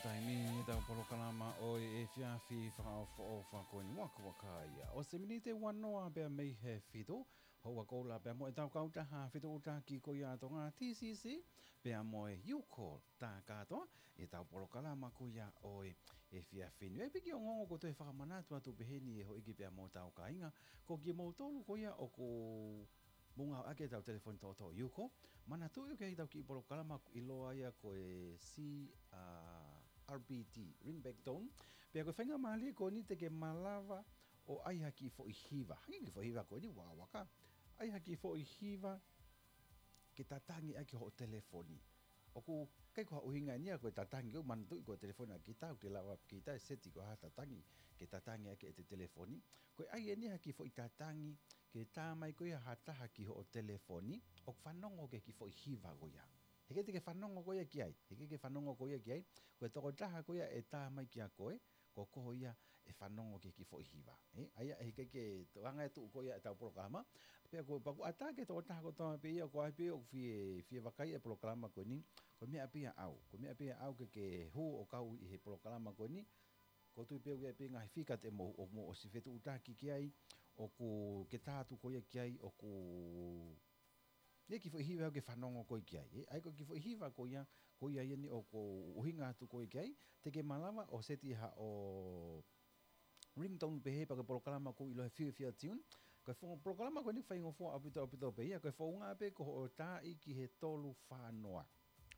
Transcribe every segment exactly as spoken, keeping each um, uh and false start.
Taimi ʻetau polokalama ʻo e efiafi fakaʻofoʻofa ko eni, ua ua ka ia. ʻOsi e miniti ua noa pea mei he fitu, hoʻo ʻalu pea mo ʻetau kautaha fetuʻutaki ko ia ʻa Tonga, T C C, pea mo e Youcall Takatoa, ʻetau polokalama ko ia ʻo e efiafi ni. ʻE piki ongoongo ko e toe fakamanatu atu pehē ni ʻe houʻeiki pea mo hotau kāinga, ko kimoutolu ko ia ʻoku mou ngāueʻaki ʻetau telefoni toʻotoʻo Youcall, manatuʻi ʻoku ʻi ai ʻetau kiʻi polokalama ʻoku ʻiloa ia ko e C R B T, ring back tone. Pea ko e faingamālie ko eni te ke malava ʻo ʻai ha kiʻi foʻi hiva. Hangē ko e kiʻi foʻi hiva ko eni, Waka Waka. ʻAi ha kiʻi foʻi hiva ke tatangi ʻaki hoʻo telefoni. ʻOku ʻikai ko ha ʻuhinga eni ia ko e tatangi, ʻoku manatuʻi ko e telefoni ʻa kita, ʻoku ke lava kita ʻe seti ko ha tatangi ke tatangi ʻaki ʻete telefoni. Ko e ʻai eni ha kiʻi foʻi tatangi ke tā mai ko ia ha taha ki hoʻo telefoni, ʻoku fanongo ki he kiʻi foʻi hiva ko ia. Heʻikai te ke fanongo koe ia ki ai, heʻikai ke fanongo koe ia ki ai, ko e tokotaha ko ia ʻe tā mai kia koe, ko koe ia ʻe fanongo ki he kiʻi foʻi hiva. ʻE, ʻa ia heʻikai ke toe ʻai atu ko ia ʻetau polokalama. Pea ko e pea ʻoku ʻatā ki he tokotaha kotoa pē ia, ko hai pē ʻoku fie, fie vakai e polokalama ko eni, ko e meʻa pē ia ʻaʻau, ko e meʻa pē ia ʻaʻau ke ke hū ʻo kau ʻi he polokalama ko eni. ʻOku ou tui pē ʻoku ʻi ai pē ngaahi fika te mou, ʻoku mou ʻosi fetuʻutaki ki ai, ʻoku ke tā atu ko ia ki ai, ʻoku ʻi ai e kiʻi foʻi hiva ʻoku ke fanongo koe ki ai. ʻE, ʻa ia ko e kiʻi foʻi hiva ko ia, ko ia ia eni ʻoku ou ʻuhinga atu ko ia ki ai, te ke malava ʻo seti haʻo ringtone pehē pea ko e polokalama ʻoku ʻiloa he fiefia tune. Ko e fo-, polokalama ko eni faingofua ʻaupito ʻaupito pē ia, ko e founga pē ko hoʻo tā ʻi ki he tolu fā noa.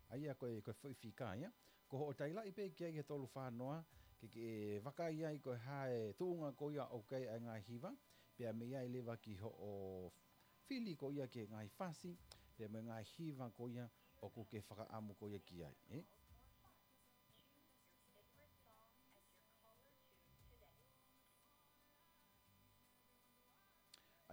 ʻA ia ko e, ko e foʻi fika ia. Ko hoʻo tailaʻi pē ki ai he tolu fā noa, ke, ke vakai ai ko e hā e tuʻunga ko ia ʻoku ʻi ai e ngaahi hiva, pea mei ai leva ki hoʻo fili ko ia ki he ngaahi fasi, pea mo e ngaahi hiva ko ia ʻoku ke fakaʻamu ko ia ki ai, ʻe?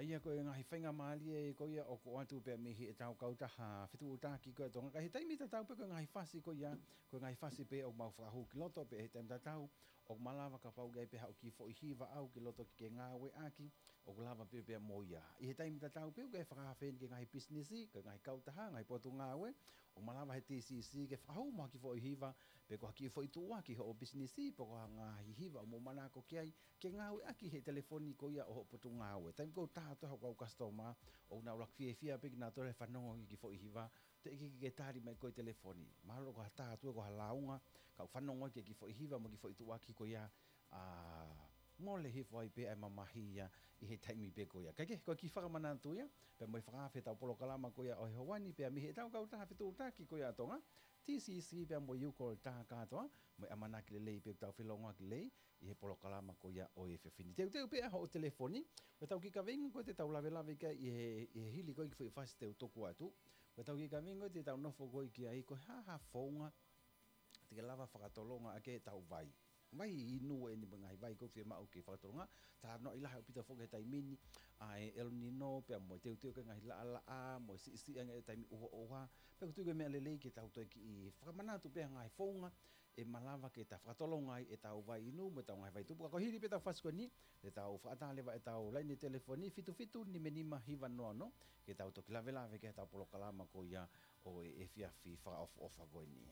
ʻA ia ko e ngaahi faingamālie ko ia ʻoku ʻoatu pē mei heʻetau kautaha fetuʻutaki ko ia ʻa Tonga. Ka ʻi he taimi tatau pē ko e ngaahi fasi ko ia, ko e ngaahi fasi pē ʻoku mau fakahū ki loto pē ʻi he taimi tatau, ʻoku malava kapau ʻoku ʻi ai pē haʻo kiʻi foʻi hiva ʻaʻau ki loto ke ke ngāueʻaki, ʻoku lava pē pea mo ia. ʻI he taimi tatau pē ʻoku ʻi ai e fakaafe eni ki he ngaahi pisinisi, ki he ngaahi kautaha, ngaahi potungāue, ʻoku malava he T C C ke fakahū mo ha kiʻi foʻi hiva, pe ko ha kiʻi foʻi tuʻuaki hoʻo pisinisi, pe ko ha ngaahi hiva ʻoku mou manako ki ai, ke ngāueʻaki he telefoni ko ia ʻo hoʻo potungāue. Taimi ʻoku ou tā atu ai hoku kau customer, ʻoku nau ʻuluaki fiefia pē kinautolu he fanongo ki he kiʻi foʻi hiva, teʻeki ke tali mai ko e telefoni. Mahalo ko ha tā atu ko ha lāunga, ka ʻoku fanongo ki he kiʻi foʻi hiva mo e kiʻi foʻi tuʻuaki ko ia, ʻa, mole hifo ai pē ʻa e mamahi ia ʻi he taimi pē ko ia. Kae kehe, ko e kiʻi fakamanatu ia, pea mo e fakaafe ʻetau polokalama ko ia ʻo e ʻaho ni, pea mei heʻetau kautaha fetuʻutaki ko ia ʻa Tonga, T C C pea mo Youcall Takatoa, mo e ʻamanaki lelei pē ʻoku tau felōngoaki lelei ʻi he polokalama ko ia ʻo e efiafi ni. Teuteu pē ʻa hoʻo telefoni, ko ʻetau kiʻi kaveinga ko ē te tau lavelave ki ai ʻi he, ʻi he hili ko ē kiʻi foʻi fasi te u tuku atu. Ko ʻetau kiʻi kaveinga ko ē te tau nofo ko ē ki ai, ko e hā ha founga te ke lava fakatolonga ʻaki ʻetau vai. Vai inu eni mo e ngaahi vai ʻoku fiemaʻu ke fakatolonga, talanoaʻi lahi ʻaupito foki he taimi ni, ʻa e El Nino, pea mo e teuteu ki he ngaahi laʻalaʻā, mo e siʻisiʻi ange e taimi ʻuhoʻuha, pea ʻoku ou tui ko e meʻa lelei ke tau toe kiʻi fakamanatu pē ʻa e ngaahi founga ʻe malava ke ta fakatolonga ai ʻetau vai inu mo ʻetau ngaahi vai tupu. Ka ko e hili pē ʻetau fasi ko eni, te tau fakaʻatā leva ʻetau laine telefoni fitu fitu nima nima hiva noa noa, ke tau toki lavelave ki heʻetau polokalama ko ia ʻo e efiafi fakaʻofoʻofa ko eni.